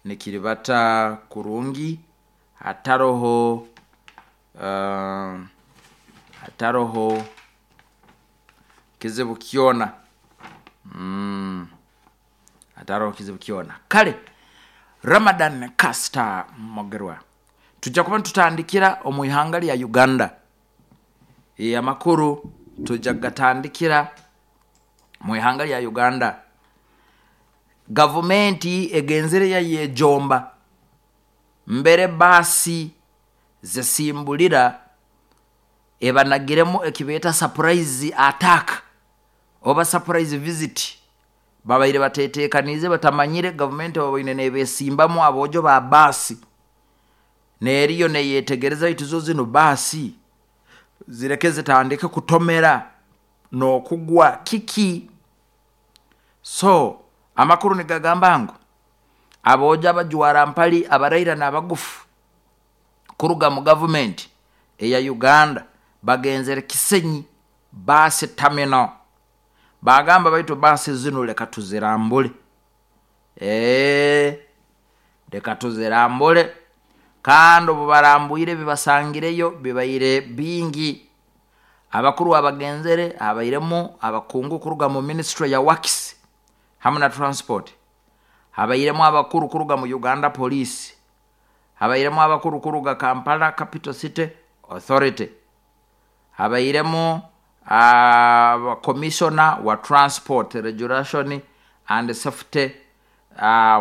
Nikiribata kurungi hataroho hataroho kizibu kyona. Hataroho kizibu kyona. Kale Ramadan Caster Mugerwa, tujja kuba nitutandikira omu ihanga lya Uganda. Amakuru tujja kugatandikira mu ihanga lya Uganda. Gavumenti egenzere yayejomba mbere baasi zisimbulira ebanagiremu ekibeeta surprise attack oba surprise visit. Babaire batetekaniize, batamanyire gavumenti baboine nebesimbamu aboojo ba baasi, neriyo neyetegereza baitu zo zinu baasi zireke zitandike kutomera n'okugwa kiki. So amakuru nigagamba ngu aboojo abajwara mpali abaraira n'abagufu kuruga mu gavumenti eya Uganda bagenzere Kisenyi baasi terminal, bagamba baitu baasi zinu leka tuzirambule, leka tuzirambule. Kandi obu barambwire ebibasangireyo bibaire bingi. Abakuru abagenzere habairemu abakungu kuruga mu ministry ya works hamu na transport, habairemu abakuru kuruga mu Uganda Police, habairemu abakuru kuruga Kampala Capital City Authority, habairemu commissioner wa transport regulation and safety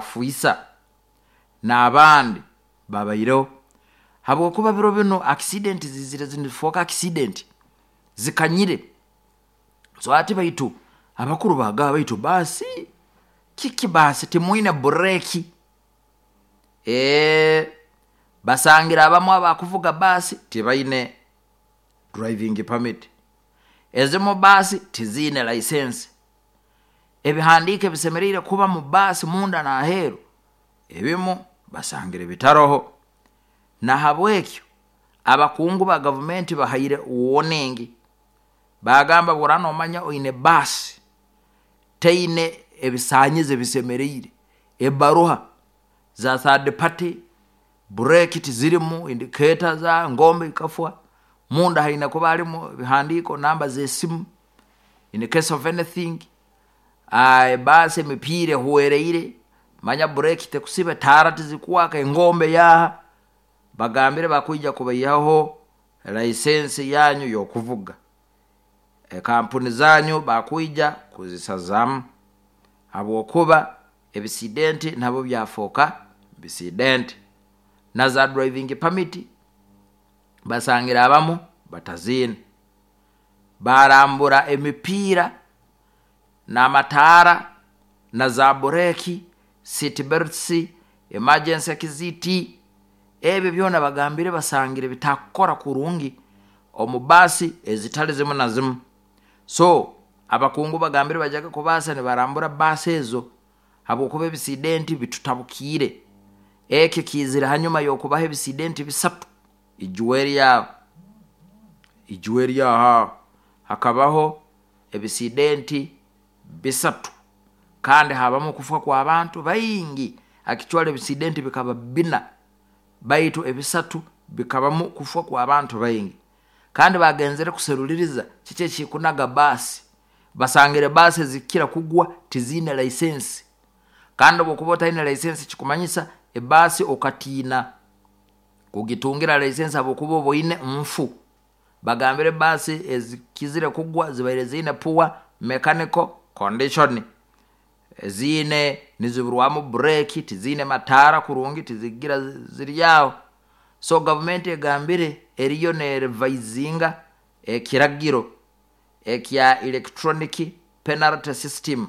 Fuisa n'abandi babaireho. Habwokuba biro binu accident zizire nizifooka accident zikanyire. So hati baitu abakuru bagamba baitu baasi kiki, baasi timwine bureki. Basangira abamu abakuvuga baasi tibaine driving permit, ezimu baasi tiziine license, ebihandiiko ebisemeriire kuba mu baasi munda n'aheeru ebimu basangire bitaroho. Nahabwekyo abakungu ba gavumenti bahaire warning, bagamba bwora nomanya oine baasi teine ebisanyizo ebisemeriire, ebaruha za third party, bureki tizirimu, indicator za ngombe ikafwa, munda haine kuba harimu ebihandiiko, namba z'esimu in case of anything. Baasi emipiira ehwereire, manya bureki tekusiba, etaara tizikwaka, engombe yaaha, bagambire bakwija kubaihaho license yanyu y'okuvuga, ekampuni zanyu bakwija kuzisazamu, habwokuba ebisidenti nabyo byafooka bisidenti. Na za driving permit basangire abamu bataziine. Barambura emipiira n'amataara na za bureki, seat belts, emergency exit, ebyo byona bagambire basangire bitakukora kurungi omu baasi ezitali zimu na zimu. So abakungu bagambire bajaga kubaasa nibarambura baasi ezo habwokuba ebisidenti bitutabukiire. Eki kiizire hanyuma y'okubaho ebisidenti bisatu ijuweeri aho, ijuweeri aho hakabaho ebisidenti bisatu kandi habamu okufa kw'abantu baingi. Akicwale ebisidenti bikaba bina, baitu ebisatu bikabamu kufa kw'abantu baingi. Kandi bagenzere kuseruliriza kiki ekikunaga baasi, basangire baasi ezikira kugwa tiziine license. Kandi obwokuba otaine license kikumanyisa ebaasi okatiina kugitungira license habwokuba oba oine nfu. Bagambire baasi ezikizire kugwa zibaire ziine poor mechanical condition, ziine niziburwamu bureki, tiziine mataara kurungi, tizigira ziri aho. So gavumenti egambire eriyo nerevisinga ekiragiro ekya electronic penalty system.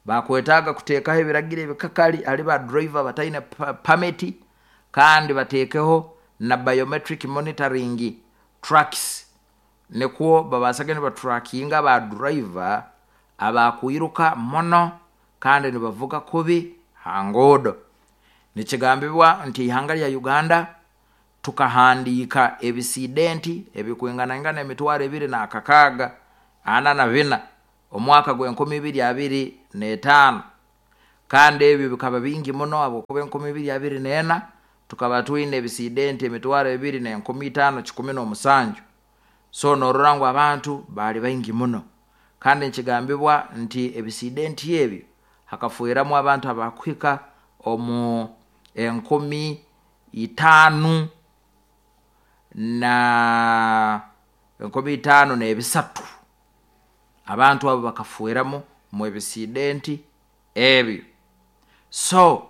Bakwetaaga kuteekaho ebiragiro ebikakali hali ba driver bataine permit, kandi bateekeho na biometric monitoring tracks, nikwo babaasage nibatrackinga ba driver abakwiruka muno kandi nibavuga kubi ha nguudo. Nikigambibwa nti ihanga lya Uganda tukahandiika ebisidenti ebikwinganaingana 2,644 omwaka gw'enkumi ibiri abiri n'etaano. Kandi ebyo bikaba bingi muno habwokuba 2024 tukaba twine ebisidenti 2,517. So norora ngu abantu baali baingi muno. Kandi nkigambibwa nti ebisidenti ebyo hakafuiramu abantu abakuhika omu 5,000 na 5,003. Abantu abo bakafuiramu mu ebisidenti ebyo. So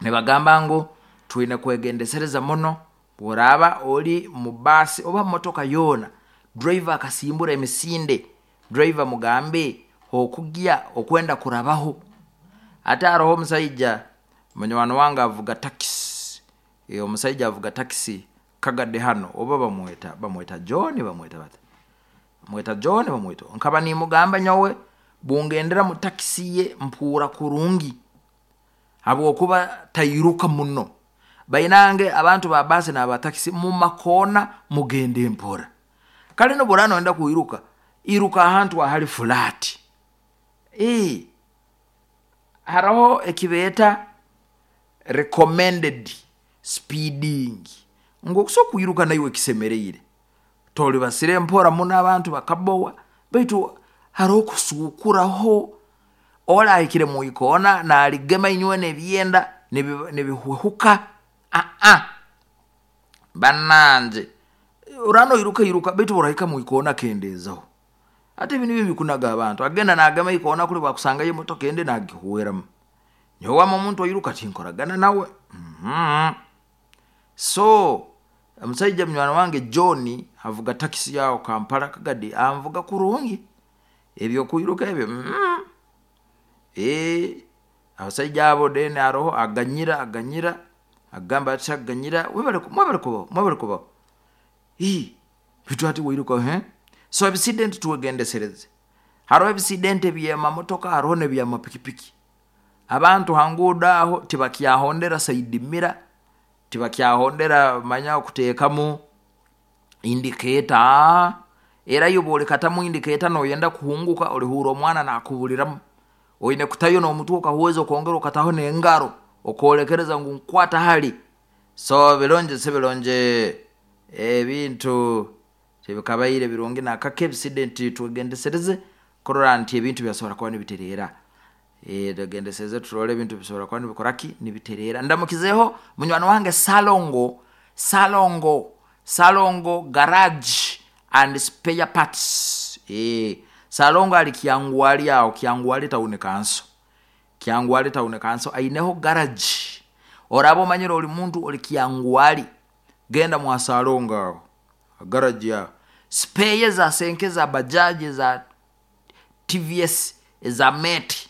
nibagamba ngu twine kwegendesereza muno. Bworaba ori mu baasi oba motoka yoona, driver akasimbura emisinde, driver mugambe okugya okwenda kurabaho. Ate haroho omusaija munywani wange avuga takisi, omusaija avuga takisi Kagadi hano, oba bamweta John, bamweta bata, bamweta John, bamweta, nkaba nimugamba nyowe bungendera mu takisi ye mpuura kurungi habwokuba tairuka muno. Bainange abantu ba baasi n'aba takisi mu makoona mugende mpora. Kale nobworaba noyenda kwiruka, iruka ahantu ahali fulaati. Haroho ekibeeta recommended speeding, ngu okusobola kwiruka naiwe kisemeriire, tolibasire mpora muno abantu bakabowa, baitu haroho kusuukuraho. Oli ahikire mwikoona naligema inywe n'ebyenda nibihwehuka. Bannange oraba noiruka iruka, baitu obu orahika mwikoona kendeezaho. Hati ebi nibyo ebikunaga abantu, agenda nagema ikoona kuli bwakusangayo emotoka endi nagihweramu. Nyowe wama omuntu airuka tinkoragana nawe. So omusaija munywani wange John avuga takisi aho Kampala Kagadi, anvuga kurungi, ebyokwiruka ebyo abasaija abo then haroho aganyira, aganyira agamba ati aganyira webale, mwebale kubaho, mwebale kubaho, baitu hati wairuka. So ebisidenti twegendesereze. Haroho ebisidenti eby'amamotoka, haroho n'eby'amapikipiki. Abantu ha nguudo aho tibakyahondera side mirror, tibakyahondera manya kuteekamu indicator. Era iwe obu olikatamu indicator noyenda kuhunguka, olihuura omwana nakubuliramu. Oine kutayo n'omutwe okahweza, okongera okataho n'engaro okolekereza ngu nkwata hali. So birungi si birungi, ebintu tibikabaire birungi nakake. Ebisidenti twegendesereze kurora nti ebintu byasobora kuba nibitereera. Twegendesereze turole ebintu bisobora kuba nibikoraki, nibitereera. Ndamukizeho munywani wange Salongo, Salongo, Salongo garage and spare parts. Salongo ali Kyangwali aho, Kyangwali town council, Kyangwali town council aineho garage. Oraba omanyire ori muntu ori Kyangwali, genda mwa Salongo aho garage aho, spare za senke, za bajaji, za TVS, eza meti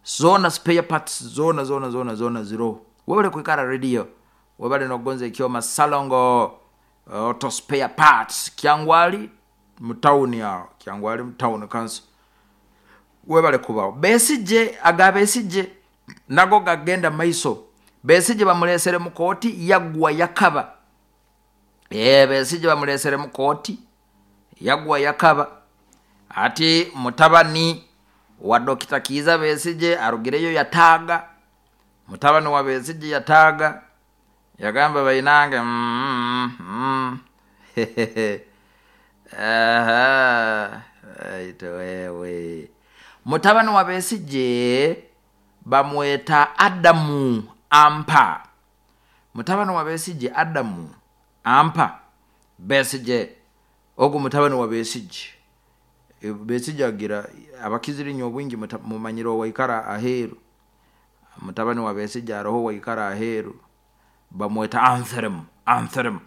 zona, spare parts zona zona zona zona ziroho. Webale kwikara radio, webale nokugonza ekyoma. Salongo auto spare parts, Kyangwali mu town aho, Kyangwali mu town council. Webale kubaho. Besigye, aga Besigye nago gagenda maiso. Besigye bamulesere mu kooti, yagwa yakaba. Besigye bamulesere mu kooti, yagwa yakaba. Ati mutabani wa Dokita Kiiza Besigye arugireyo yataaga, mutabani wa Besigye yataaga, yagamba bainange aitu wewe. Mutabani wa Besigye bamweta Adamu Ampa. Mutabani wa Besigye Adamu Ampa Besigye, ogu mutabani wa Besigye. Besigye agira abakizire inywe obwingi mumanyire owaikara aheeru. Mutabani wa Besigye aroho waikara aheeru, bamweta Anthrem, Anthrem.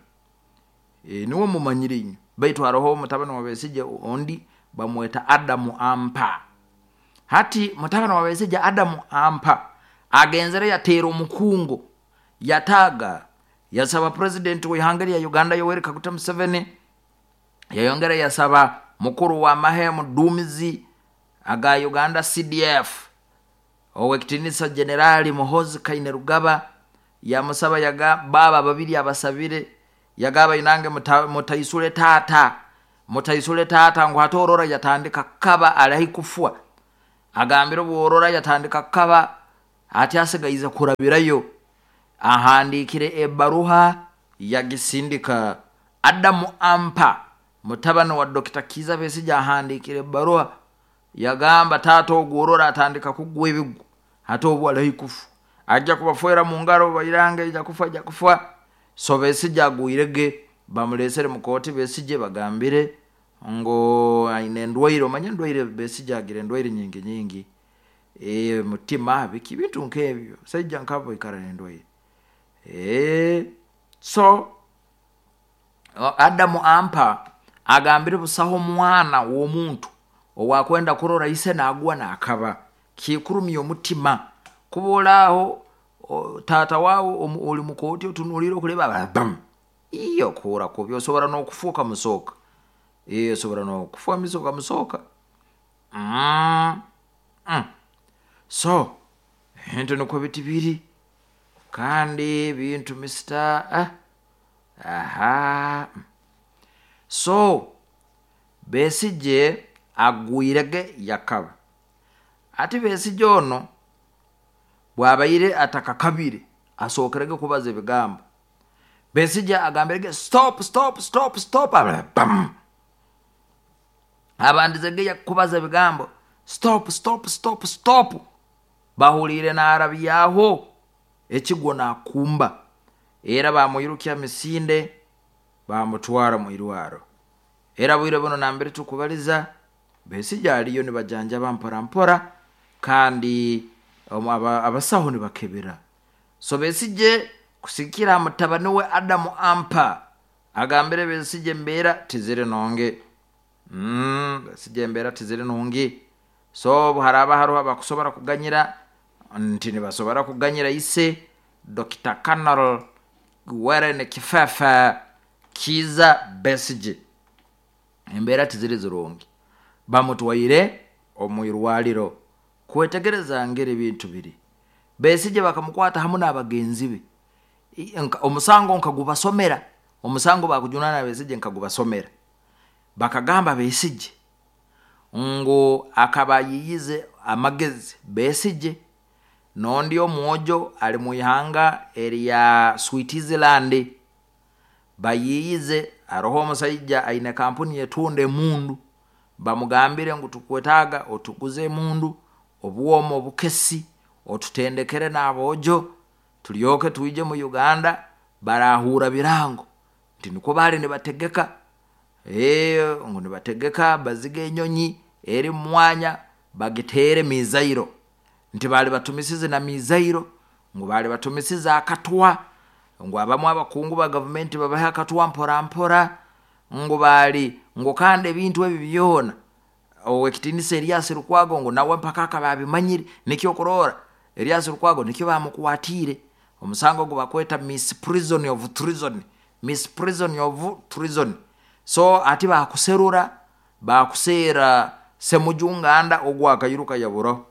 Niwe mumanyire inywe, baitu haroho mutabani wa Besigye ondi bamweta Adamu Ampa. Hati mutabani wa Besigye Adamu Ampa agenzere yateera omukungo, yataaga, yasaba president w'ihanga lya Uganda Yoweri Kaguta Museveni, yayongera yasaba mukuru wa mahe muduumizi aga Uganda CDF owekitinisa Generali Muhoozi Kainerugaba, yamusaba yaga baba babiri abasabire, yagaba inange mutaisule tata, mutaisule tata, ngu hati orora yatandika kaba ali kufwa. Agambire obworora yatandika kukaba, ati asigaize kurabirayo. Ahandiikire ebaruha yagisindika. Adamu Ampa mutabani wa Dr. Kiiza Besigye ahandiikire ebaruha yagamba taata ogu orora atandika kugwa ebigu, hati obu ali kufa ajja kubafwera mu ngaro, bairange ija kufa, ija kufa. So Besigye agwirege, bamulesere mu kooti. Besigye bagambire ngu aine endwaire, omanye endwaire Besigye agira endwaire nyingi nyingi, mutima biki bintu nk'ebyo, saija nkabo baikara n'endwaire. So Adamu Ampa agambire busaho omwana w'omuntu owakwenda kurora ise nagwa nakaba, kikurumya omutima kuba olaaho taata waawe oli mukooti otunuliire okureba bam, iyo okuhura kubi, osobora n'okufa okamusooka, osobora n'okufa miso okamusooka. So ebintu nikwo biti biri, kandi ebintu misita aha. So Besigye agwirege yakaba. Ati Besigye ono bwabaire atakakabire asookerege kubaza ebigambo. Besigye agambirege stop stop stop stop, bam. Abandizege kubaza ebigambo stop stop stop stop, bahuliire narabyaho ekigwo nakumba, era bamwirukya misinde bamutwara mu irwaro. Era bwire buno nambere tukubaliza Besigye aliyo nibajanjaba mpora mpora, kandi abasaho nibakebera. So Besigye kusikira mutabani we Adamu Ampa agambire Besigye embeera tiziri nungi. Besigye embeera tiziri nungi. So obu haraba haroho abakusobora kuganyira, nti nibasobora kuganyira ise Dr. Colonel Warren Kifafa Kiiza Besigye, embeera tiziri zirungi, bamutwaire omu irwaliro kwetegereza ngeri ebintu biri. Besigye bakamukwata hamu n'abagenzi be, omusango nkagubasomera, omusango bakujunana Besigye nkagubasomera. Bakagamba Besigye ngu akaba ayiyize amagezi. Besigye n'ondi omwojo ali mu ihanga erya Switzerland, bayiyize haroho omusaija aine kampuni etunda emundu, bamugambire ngu tukwetaaga otuguze emundu, obwoma obukesi, otutendekere n'aboojo, tulyoke twije mu Uganda barahura birango. Nti nikwo baali nibategeka, ngu nibategeka bazige enyonyi eri mu mwanya bagiteere mizairo, nti baali batumisize na mizairo, ngu baali batumisize akatwa, ngu abamu abakungu ba gavumenti babahe akatwa mpora mpora, ngu baali ngu kandi ebintu ebi byona ow'ekitiinisa Erias Lukwago ngu nawe mpaka akaba abimanyire. Nikyo okurora Erias Lukwago nikyo bamukwatiire omusango ogu bakweta misprision of treason, misprision of treason. So ati bakuserura bakuseera Semuju Nganda ogu akairuka yaburaho.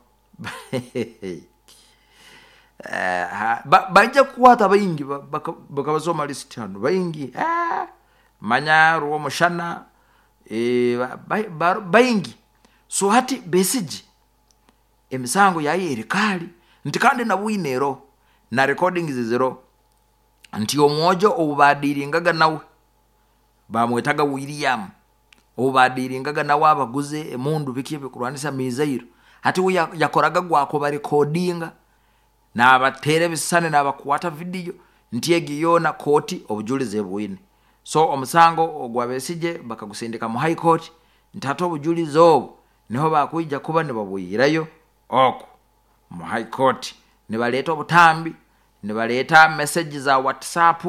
Baija kukwata baingi, bakabasoma lisiti hanu baingi, manya Rwomushana, baingi. So hati Besigye emisango yayo eri kaali, nti kandi na bwino eroho na recordings ziroho, nti omwojo ou baadiringaga nawe bamwetaga William, ou baadiringaga nawe abaguze emundu biki ebikurwanisa mizairo, hati we yakoraga gwakuba recordinga nabateera ebisisani nabakwata vidiyo, nti egi yoona kooti obujulizi ebwine. So omusango ogwa Besigye bakagusindika mu high court, nti hati obujulizi obu niho bakwija kuba nibabwihirayo oku mu high court, nibaleeta obutambi, nibaleeta message za WhatsApp,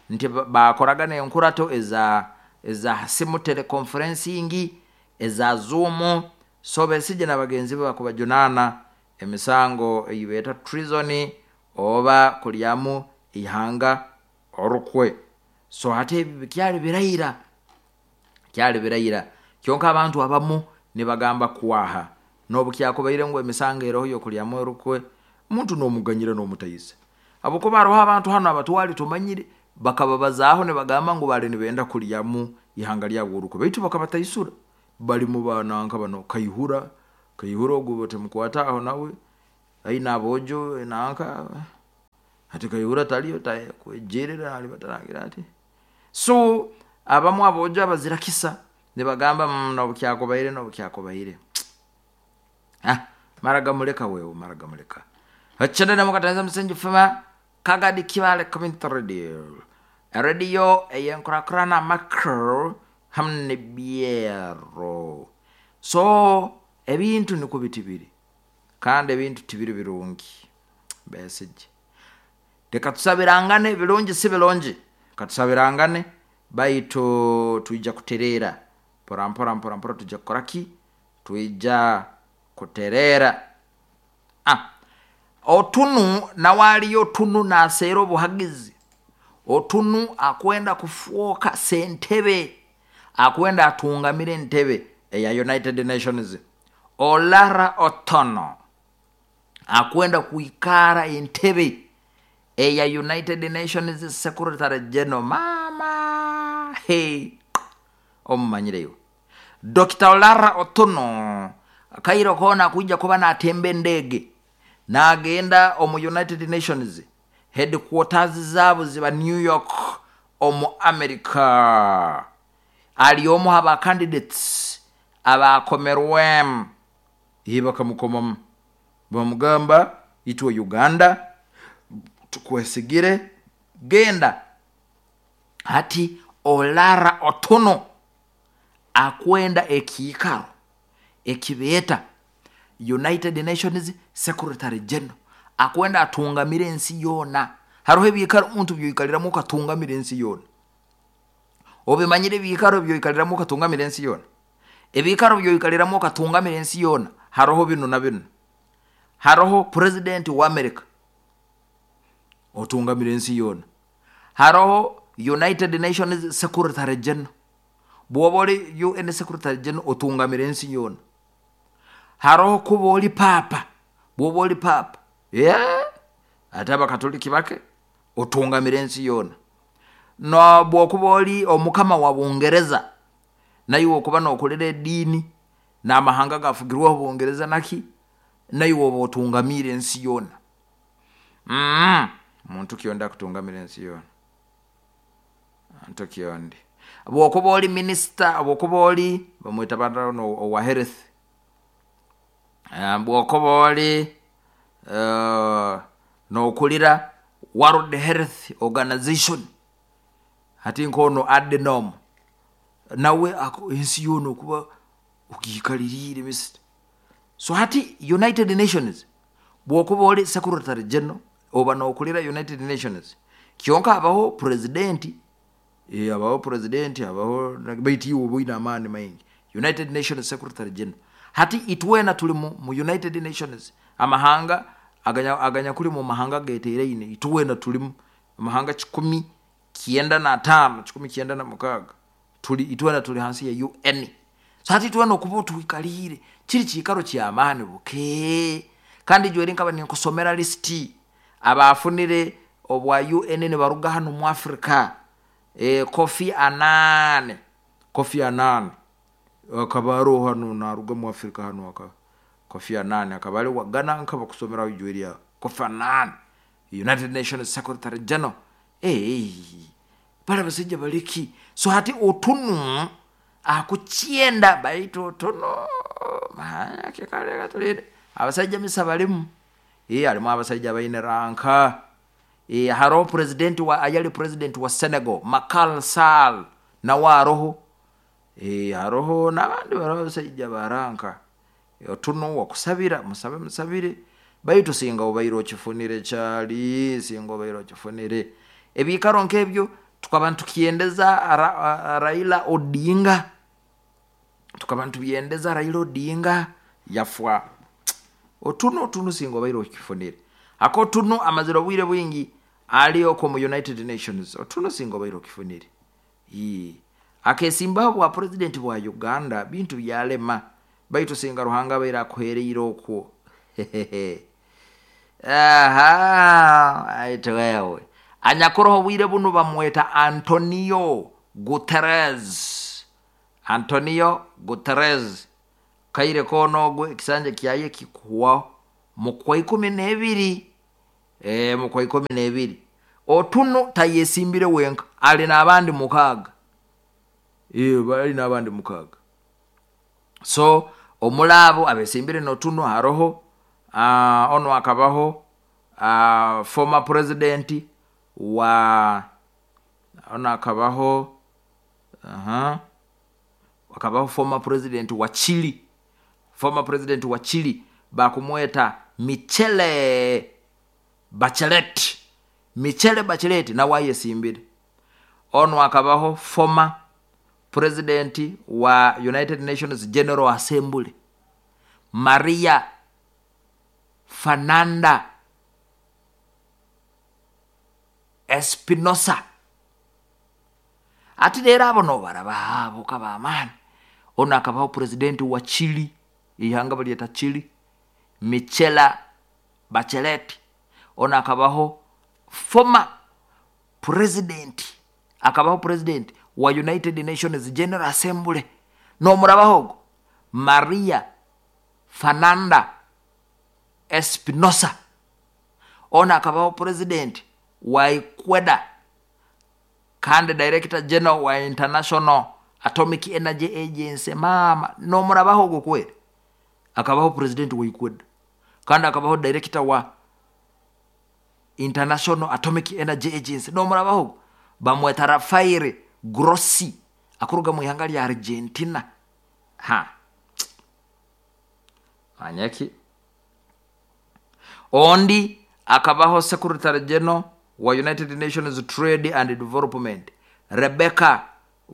nti bakoraga n'enkurato eza simu, teleconferencing, eza Zoom. So Besigye na bagenzi be bakubajunaana emisango ei beeta treason oba kulyamu ihanga orukwe. So hati ebi bikyali biraira, kyali biraira, kyonka abantu abamu nibagamba kwaha n'obu kyakubaire ngu emisango eroho y'okulyamu orukwe, omuntu n'omuganyira n'omutaisa, habwokuba haroho abantu hanu abatwali tumanyire bakababazaaho nibagamba ngu baali nibenda kulyamu ihanga lyabo orukwe, baitu bakabataisura, bali mu bananka bano Kaihura. Kaihura ogu timukwata aho nawe aine aboojo nanka hati Kaihura taliyo kwejerera alibataragira ati. So abamu aboojo abazira kisa nibagamba nobukyakubaire nobukyakubaire. Ah, mara gamuleka wewe, mara gamuleka. Hachana na mukatanza msenji fema Kagadi Kibale Community Radio. Radio eyenkurakurana makro hamwe byero. So ebintu niko bitibiri. Kandi ebintu tibiri birungi. Besije. Reka tusabirangane birungi si birungi. Katusabirangane baitu tuija kuterera. Mpora mpora mpora mpora tuija kukora ki? Tuija kuterera. Ah. Otunu nawaliyo Otunu naseera obuhagizi. Otunu akwenda kufuoka sentebe, akwenda atungamire entebe eya United Nations. Olara Otono akwenda kuikara entebe eya United Nations Secretary General. Mama hey, omumanyireyo Dr. Olara Otono kairo kona kuja kuba natemba endege nagenda omu United Nations headquarters zabo ziba New York omu America. Ali omu aba candidates abakomerwemu bakamukomamu bamugamba itwe Uganda tukwesigire genda. Hati Olara Otono akwenda ekiikaro ekibeeta United Nations Secretary General, akwenda atungamire ensi yoona. Hariho ebiikaro omuntu byoikaliramu okatungamira ensi yoona. Obimanyire ebiikaro byoikaliramu okatungamira ensi yoona. Ebiikaro byoikaliramu okatungamira ensi yoona hariho binu na binu. Hariho president wa America otungamira ensi yoona. Hariho United Nations Secretary General, bwoba ori UN Secretary General otungamira ensi yoona. Hariho kuba ori papa, bwoba ori papa yeah, ate abakatoliki bake otungamira ensi yoona. No bwokuba ori omukama wa Bungereza naiwe okuba nokolera ediini n'amahanga gafugirweho Bungereza naki naiwe oba otungamire ensi yoona. Muntu kyondi akutungamira ensi yoona. Muntu kyondi. Bwokuba ori minister, bwokuba ori bamweta bano owa health, bwokuba ori nokulira World Health Organization, hati nkono Adnom nawe ensi yoona okuba ogiikaliriire mister. So hati United Nations bwokuba ori Secretary General oba nokulira United Nations, kyonka habaho president, habaho president, habaho baitu iwe oba oine amaani maingi. United Nations Secretary General. Hati itwena tuli mu United Nations, amahanga aganyakuli mu mahanga geteeraine, itwena tulimu amahanga 195, 196 tuli itwena tuli hansi ya UN. So hati itwena okuba otwikaliire kiri kiikaro ky'amaani buke. Kandi jweri nkaba ninkusomera lisiti abafunire obwa UN nibaruga hanu mu Africa. Kofi Annan, Kofi Annan akaba aroho hanu naruga mu Africa hanu aka Kofi Annan akaba ali wa Ghana nkaba kusomeraho ijweri ya Kofi Annan United Nations Secretary General. Bali abasajja baliki. So hati Otunu akukyenda baitu Otunu katulinde abasajja misa balimu. Harimu abasajja baine ranka. Hariho president wa ayali president wa Senegal Macky Sall nawe aroho. Hariho n'abandi bariho abasajja baranka. Otunu wakusabira musabe musabire baitu singa obaire okifunire kyali singa obaire okifunire ebiikaro nk'ebyo. Tukaba nitukyendeza Raila Odinga, tukaba nitubyendeza Raila Odinga yafwa. Otunu Otunu singa obaire okifunire. Ako Otunu amazire obwire bwingi ali okwo mu United Nations. Otunu singa obaire okifunire. Akesimbaho bwa president bwa Uganda bintu byalema baitu singa Ruhanga abaire akuhereire okwo. Aha, aitu wewe anyakuroho obwire bunu bamweta Antonio Guterres. Antonio Guterres. Kaire koona ogwe ekisanja kyaye kikuhwaho mukwa 12, mukwa 12. Otunu tayesimbire wenka, ali n'abandi 6. Bali n'abandi 6. So omulabo abesimbire n'otunu haroho ono akabaho former president wa ono akabaho akabaho former president wa Chile, former president wa Chile bakumweta Michele Bachelet. Michele Bachelet nawe ayesimbire. Ono akabaho former president wa United Nations General Assembly Maria Fernanda Espinosa. Ati rero abo nobaraba abo kabamani. Ono akabaho president wa Chile, ihanga balyeta Chile, Michela Bachelet. Ono akabaho former president, akabaho president wa United Nations General Assembly nomurabaho ogo Maria Fernanda Espinosa. Ono akabaho president wa Ecuador kandi director general wa International Atomic Energy Agency. Mama nomurabaho ogo kweri, akabaho president wa Ecuador kandi akabaho director wa International Atomic Energy Agency. Nomurabaho ogo bamweta Rafael Grossi akuruga mu ihanga lya Argentina. Ha manyaki. Ondi akabaho secretary general wa United Nations Trade and Development Rebecca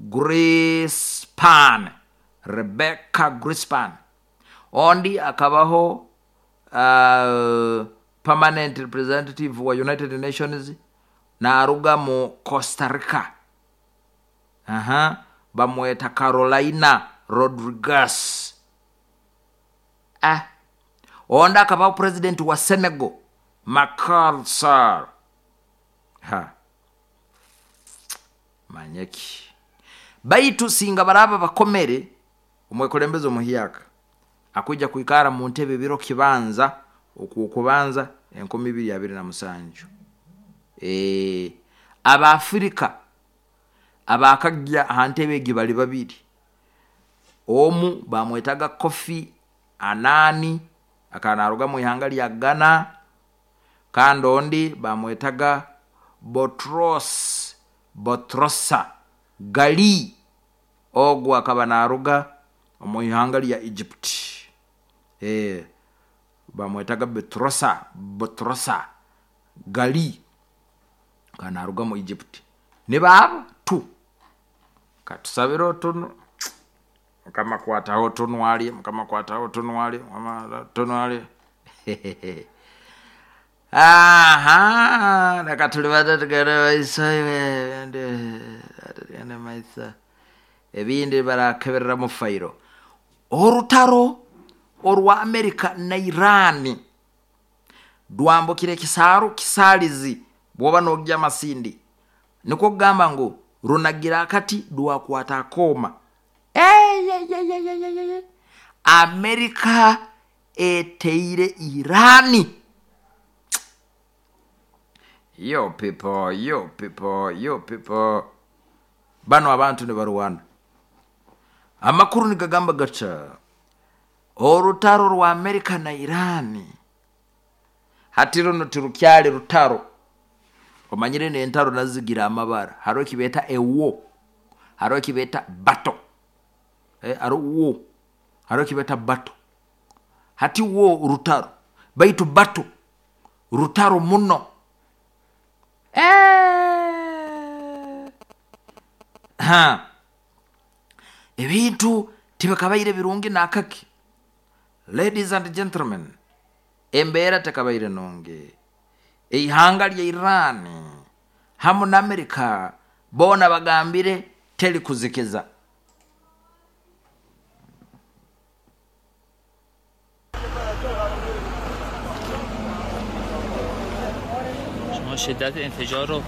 Grispan. Rebecca Grispan. Ondi akabaho permanent representative wa United Nations naruga mu Costa Rica. Bamweta Carolina Rodriguez. Onda akabaho president wa Senegal Macky Sall. Ha manyeki. Baitu singa baraba bakomere omwekulembeze omuhyaka akuja kuikara mu ntebe biro kibanza okukubanza 2027. Abafrika abakajja aha ntebe egi bali babiri. Omu bamwetaga Kofi Anani akanaruga mu ihanga lya Ghana, kandi ondi bamwetaga Botros Botrosa Gali, ogwo akaba naruga omu ihanga lya Egypt. Bamwetaga Botrosa Botrosa Gali kanaruga mu Egypt. Nibaabo tu katusabire otunu mukama kwataho tunwali, mukama kwataho tunwali, mukama tunwali. Aha, reka tulibata tugende maiso, tugende maiso. Ebindi barakeberera mu fayiro. Orutaro orwa Amerika na Irani rwambukire ekisaaru kisaalizi bwoba nogya amasindi, nikwo kugamba ngu runagira akati rwakwata akooma. Amerika eteire Irani. Yo people, yo people, yo people. Bano abantu nibarwana. Amakuru nigagamba gaca orutaro rwa Amerika na Irani hati runo tirukyali rutaro. Omanyire n'entaro nazigira amabara. Hariho ekibeeta ewo, hariho ekibeeta bato. Hariho wo, hariho ekibeeta bato. Hati wo rutaro, baitu bato rutaro muno. Ha ebintu tibikabaire birungi nakaki. Ladies and gentlemen, embeera tekabaire nungi. Eihanga lya Irani hamu na Amerika boona bagambire teri kuzikiza. شما شدت انفجار رو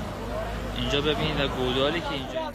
اینجا ببینید و گودالی که اینجا.